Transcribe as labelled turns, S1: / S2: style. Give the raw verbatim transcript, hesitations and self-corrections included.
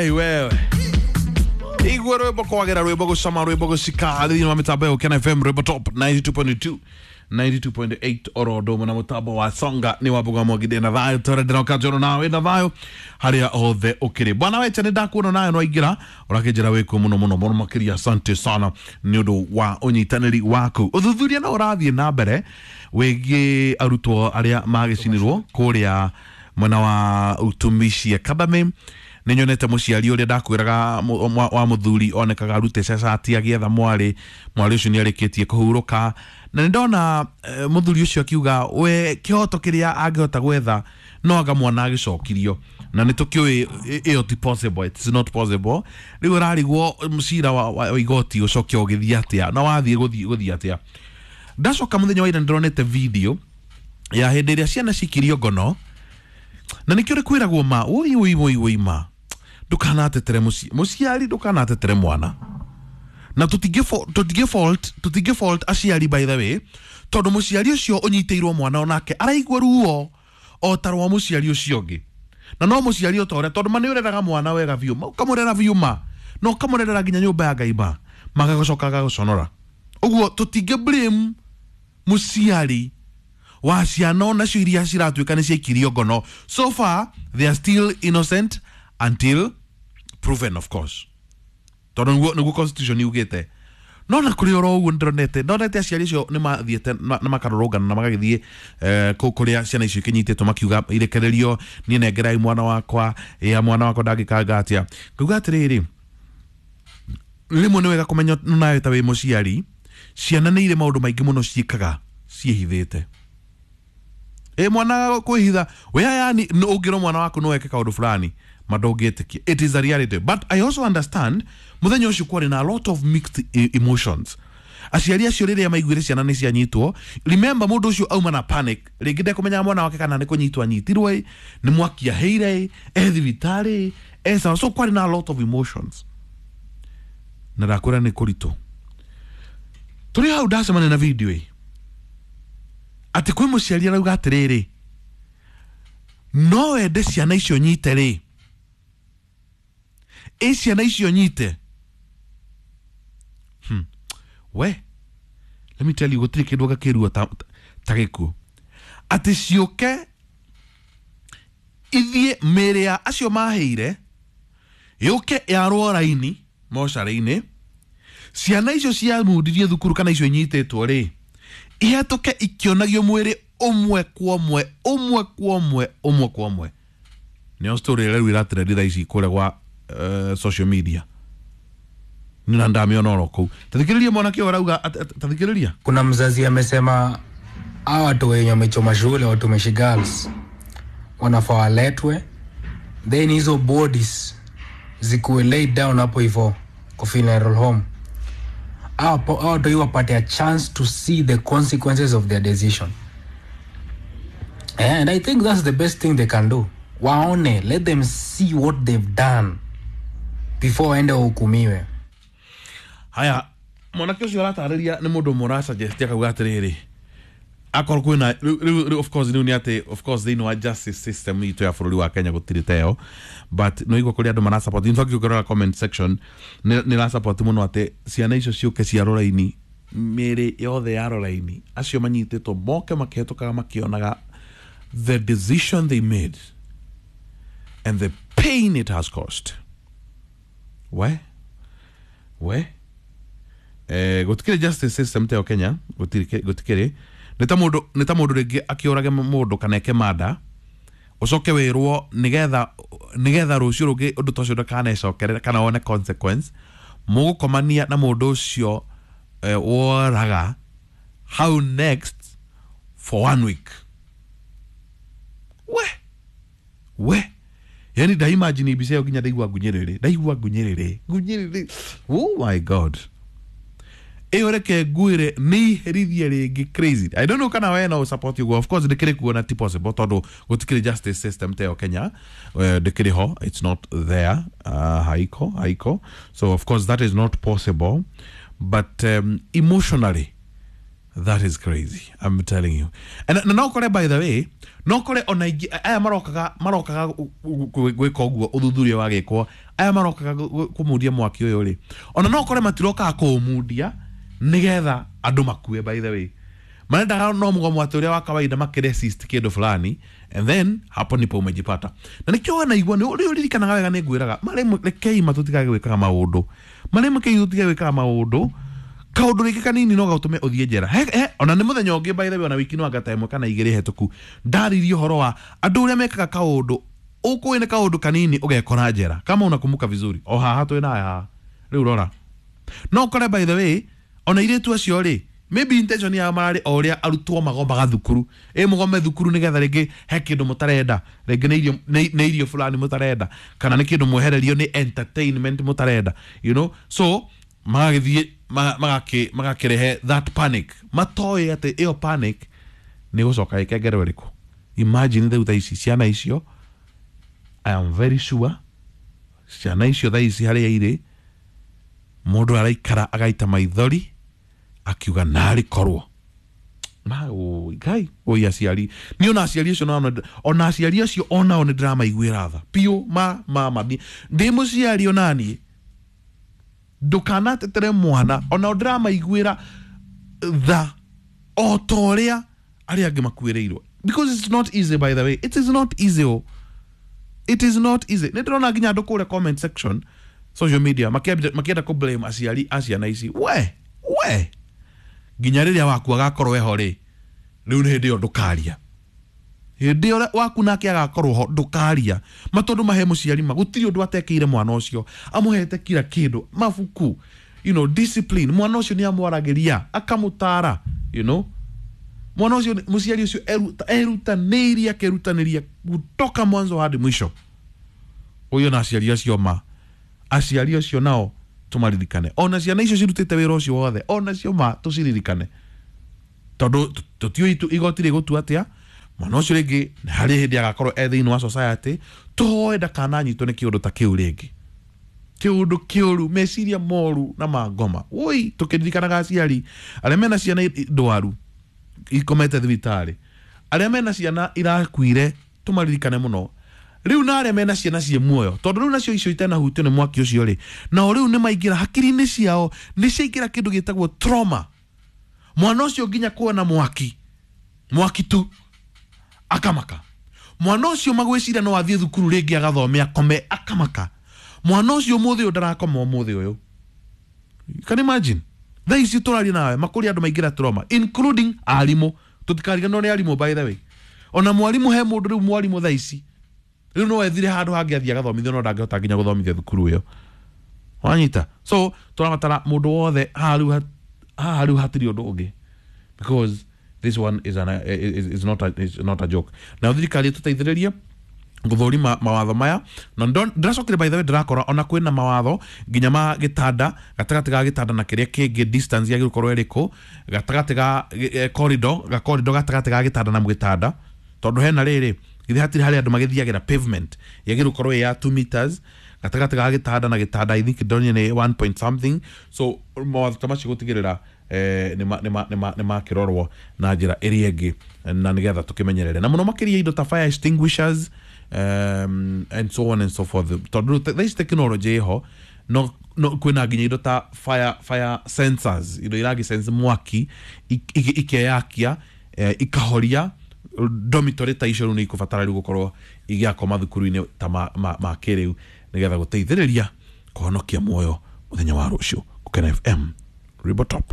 S1: Hey, wewe igwe rwimbo kwagera rwimbo gucama rwimbo gucika thĩinĩ wa mĩtambo ya Ũkena F M rwimbo top ninety two point two ninety two point eight oro ũndũ ũmwe na mũtambo wa Songa nĩ wa Mbuga Mwangithia na thayũ tũrendera ũkanjoro nawe na thayũ harĩa hothe ũkĩrĩ. Bwana weche nĩ ndakuona nawe no aingĩra ũrakĩnjĩra wĩkuo mũno mũno mũno makĩria, asante sana nĩ ũndũ wa ũnyitanĩri waku. Ũthuthuria no ũrathiĩ na mbere wĩgiĩ arutwo arĩa magĩcinirwo kũrĩa mwena wa Utumishi Academy. Nĩ nyonete mũciari ũrĩa ndakwĩraga wa mũthuri onekaga arute cacati agĩetha mwarĩ, mwarĩ ũcio nĩ arĩkĩtie kũhurũka, na nĩ ndona mũthuri ũcio akiuga we kĩhoto kĩrĩa angĩhota gwetha no anga mwana agĩcokirio, na nĩ tũkĩũĩ ĩyo ti possible, it's not possible. Rĩu ũrarigwo mũcira wa igoti ũcoke ũgĩthiĩ atĩa na wathiĩ gũthiĩ gũthiĩ atĩa. Ndacoka mũthenya wa ira nĩndĩronete video ya hĩndĩ ĩrĩa ciana cikirio ngono, na nĩkĩo rĩkwĩragwo ma woi woi woi woi ma ndukanatetere mũciari, ndukanatetere mwana, na tũtingĩ tũtingĩ fault tũtingĩ fault aciari by the way, tondũ mũciari ũcio ũnyitĩirwo mwana onake araigua ruo o ta rwa mũciari ũcio ũngĩ, na no mũciari o ta ũrĩa, tondũ ma nĩ ũreraga mwana wega biũ, ũkamũrera biũ ma na ũkamũrerera nginya nyũmba ya Ngai ma magagũcoka agagũconora. Ũguo tũtingĩ blame mũciari wa ciana onacio iria ciratuĩka nĩ ciaikirio ngono. So far they are still innocent until proven, of course, tondũ nĩguo nĩguo constitution yugĩte. No na kũrĩ oro ũguo nĩndĩronete ndonete aciari acio nĩ mathiĩte na makarũrũngana na magagĩthiĩ kũu kũrĩa ciana icio ikinyitĩtwo makiuga irekererio, niĩ nengerai mwana wakwa, ĩa mwana wakwa ndangĩkanga atĩa. Ngauga atĩrĩrĩ, rĩmwe nĩ wega kũmenya nawe ta wĩ mũciari, ciana nĩ irĩ maũndũ maingĩ mũno ciĩkaga ciĩhithĩte. Ĩ mwana kwĩhitha we yani ũngĩrwo mwana waku no eke kaũndũ fulani ma ndũngĩtĩkia. It is a reality, but I also understand mũthenya ũcio kwarĩ na a lot of mixed emotions. Aciari acio rĩrĩa maiguire ciana nĩ cianyitwo, remember mũndũ ũcio auma na panic, rĩngĩ ndekũmenyaga mwana wake kana nĩ kũnyitwo anyitirwo ĩ, nĩ mwaki aheire ĩ, e thibitarĩ e sawa, so kwarĩ na a lot of emotions, na ndakwĩra nĩ kũritũ. Tũrĩ hau ndacemania na video ĩ atĩ kwĩ mũciari arauga atĩrĩrĩ, no wende ciana icio nyite rĩ, ĩ ciana icio nyite hmm. We let me tell you, gũtirĩ kĩndũ gakĩrua ta, ta gĩkuũ atĩ ciũke ithiĩ mĩĩrĩ ya acio maheire yũke yarwo raini mocarĩ-inĩ, ciana icio ciamundirie thukuru kana icio inyitĩtwo rĩ ihetũke ikĩonagio mwĩrĩ ũmwe kwa ũmwe ũmwe kwa ũmwe ũmwe kwa ũmwe. Nĩyo story ĩrĩa rĩu ĩratrendi thaa ici kũrĩa gwa uh, social media, nina ndamĩona oro kũu. Tathikĩrĩria mwanake ũyũ arauga, tathikĩrĩria.
S2: Kuna mzazi amesema hawa watu wenye wamechoma shule, watumishi girls, wanafaa waletwe, then hizo bodies zikuwe laid down hapo hivyo kwa funeral home. Hawa watu wapate a chance to see the consequences of their decision. And I think that's the best thing they can do. Waone, let them see what they've done before waende wahukumiwe.
S1: Haya, mwanake ũcio aratarĩria nĩ mũndũ ũmwe ũrasuggest akauga atĩrĩrĩ, akorwo kwĩna rĩu of course rĩu nĩ atĩ of course thĩinĩ wa justice system itũ ya bũrũri wa Kenya gũtirĩ ta ĩyo, but no igua kũrĩ andũ mara support. In fact ũngĩrora comment section nĩ ra support mũno atĩ ciana icio ciũke ciarwo raini, mĩĩrĩ yothe yarwo raini, acio manyitĩtwo moke makĩhetũkaga makĩonaga the decision they made and the pain it has caused. We we eh gũtikĩrĩ justice system ta Kenya, gũtirĩ gũtikĩrĩ. Nĩ ta mũndũ nĩ ta mũndũ rĩngĩ akĩũrage mũndũ kana eke mada, ũcoke wĩrwo nĩgetha nĩgetha rũciũ rũngĩ ũndũ ta ũcio ndũkanecokerere kana wone consequence, mũgũkomania na mũndũ ũcio eh, woraga how next for one week. We we yani nda imagine mbica ĩyo nginya ndaigua ngunyĩrĩrĩ, ndaigua ngunyĩrĩrĩ ngunyĩrĩrĩ, oh my god. Ĩyo reke ngwĩre nĩ iherithia rĩngĩ crazy. I don't know kana we no support you, of course ndĩkĩrĩ kuona ti possible tondũ gũtikĩrĩ justice system ta ĩyo Kenya, ndĩkĩrĩ ho, it's not there, uh, haiko haiko, so of course that is not possible, but um, emotionally That is crazy, I'm telling you. And na no kore, by the way, no kore ona ingĩ aya marokaga marokaga gwĩka ũguo, ũthuthuria wa gĩkwo, aya marokaga kũmundia mwaki ũyũ rĩ, ona no kore matirokaga kũũmundia nĩgetha andũ makue. By the way, marendaga no mũgomo atĩ ũrĩa wa kawaida makĩresist kĩndũ fulani, and then hapo ndipo umejipata. Na nĩkĩo wanaigua nĩ ũrĩ ũririkanaga wega, nĩ ngwĩraga marĩ rekei matũtigage gwĩkaga maũndũ marĩ mekei, tũtigage gwĩkaga maũndũ kaũndũ rĩngĩ kanini no gatũme ũthiĩ njera. He, he, ona nĩ mũthenya ũngĩ, by the way, ona wiki no anga ta ĩmwe kana igĩrĩ hetũku, ndaririe ũhoro wa andũ ũrĩa mekaga kaũndũ ũkũĩ nĩ kaũndũ kanini ũgekora njera, kama unakumbuka vizuri. O haha twĩ naye haha rĩu, rora, no kore, by the way, ona irĩtu acio rĩ, maybe intention yao mararĩ o ũrĩa arutwo magomaga thukuru, ĩ mũgome thukuru nĩgetha rĩngĩ he kĩndũ mũtarenda, rĩngĩ nĩ irio nĩ nĩ irio fulani mũtarenda, kana nĩ kĩndũ mwehererio nĩ entertainment mũtarenda, you know so magagĩthiĩ magakĩ magakĩrehe that panic, matoĩ atĩ ĩyo panic nĩ gũcoka ĩkengerwo ĩrĩkũ. Imagine rĩu thaa ici ciana icio, I am very sure ciana icio thaa ici harĩa irĩ, mũndũ araikara agaita maithori akiuga narĩ korwo ma ũ ngai oi aciari ni ona aciari acio nao, ona aciari acio onao nĩ ndĩramaiguĩra tha piũ. Ma mama ndĩ mũciari onaniĩ, ndũkanatetere mwana, ona ndĩramaiguĩra tha o ta ũrĩa arĩa angĩ makuĩrĩirwo, because it's not easy. By the way, it is not easy, oh. It is not easy. Nĩ ndĩrona nginya andũ kũrĩa comment section, social media, makĩenda makĩenda kũ blame aciari a ciana ici. We we nginya rĩrĩa waku agakorwo eho rĩ, rĩu nĩ hĩndĩ ĩyo ndũkaria, hĩndĩ ĩyo waku nake agakorwo ho ndũkaria ma, tondũ mahe mũciari ma gũtirĩ ũndũ atekĩire mwana ũcio, amũhete kila kĩndũ, mabuku, you know, discipline, mwana ũcio nĩ amwaragĩria akamũtara, you know mwana ũcio, mũciari ũcio erutanĩirie akerutanĩria kutoka mwanzo hadi mwisho. Ũyũ na aciari acio ma aciari acio nao tũmaririkane, ona ciana icio cirutĩte wĩra ũcio wothe, ona cio ma tũciririkane, tondũ tũtiũĩ igoti rĩgũtua atĩa. Mwana ũcio rĩngĩ harĩ hĩndĩ agakorwo e thĩinĩ wa society, tũhoe ndakananyitwo nĩ kĩũndũ ta kĩu rĩngĩ, kĩũndũ kĩũru, meciria moru na mangoma. Woi, tũkĩririkanaga aciari arĩa mena ciana ndwaru ikomete thibitarĩ, arĩa mena ciana irakuire, tũmaririkane mũno rĩu, na arĩa mena ciana ciĩ muoyo, tondũ rĩu nacio icio itanahutio nĩ mwaki ũcio rĩ, nao rĩu nĩ maingĩra hakiri-inĩ ciao, nĩ ciaingĩra kĩndũ gĩtagwo trauma. Mwana ũcio nginya kuona mwaki, mwaki tu akamaka. Mwana ũcio magwĩciria no athiĩ thukuru rĩngĩ agathome akome, akamaka. Mwana ũcio ũmũthĩ ũyũ ndarakoma ũmũthĩ ũyũ. You can imagine thaa ici tũraria nawe makũria andũ maingĩra trauma, including arimũ. Tũtikariganĩrwo nĩ arimũ, by the way. Ona mwarimũ, he mũndũ rĩu mwarimũ thaa ici rĩu no ethire handũ hangĩ athiĩ agathomithio, no ndangĩhota nginya gũthomithia thukuru ĩyo, wanyita. So tũrabatara mũndũ wothe haha rĩu, haha rĩu hatirĩ ũndũ ũngĩ, because this one is, an, is, is, not a, is not a joke. Na thirikari ĩtũteithĩrĩrie gũthũrima mawatho maya. Na ndĩracokire, by the way, ndĩrakora ona kwĩna mawatho nginya ma gĩtanda, gatagatĩ ga gĩtanda na kĩrĩa kĩngĩ distance yagĩrĩirwo gũkorwo ĩrĩkũ, gatagatĩ ga corridor, ga corridor gatagatĩ ga gĩtanda na gĩtanda, tondũ hena rĩrĩ githĩ hatirĩ harĩa andũ magĩthiagĩra, pavement yagĩrĩirwo gũkorwo ĩ ya two meters gatagatĩ ga gĩtanda na gĩtanda. I think ndonire nĩ one point something. So mawatho ta macio gũtigĩrĩra eh, nĩ makĩrorwo na njĩra ĩrĩa ĩngĩ, na nĩgetha tũkĩmenyerere na mũno makĩria indo ta fire extinguishers, um, and so on and so forth, tondũ thaa ici technology ĩho, no no kwĩna nginya indo ta fire fire sensors, indo iragĩ sense mwaki ikeyakia, eh, ikahoria. Dormitory ta icio rĩu nĩ ikũbatara rĩu gũkorwo igĩakwo mathukuru-inĩ ta ma, ma, ma kĩrĩu, nĩgetha gũteithĩrĩria kũhonokia muoyo mũthenya wa rũciũ. Gũkena F M, Rwĩmbo Top.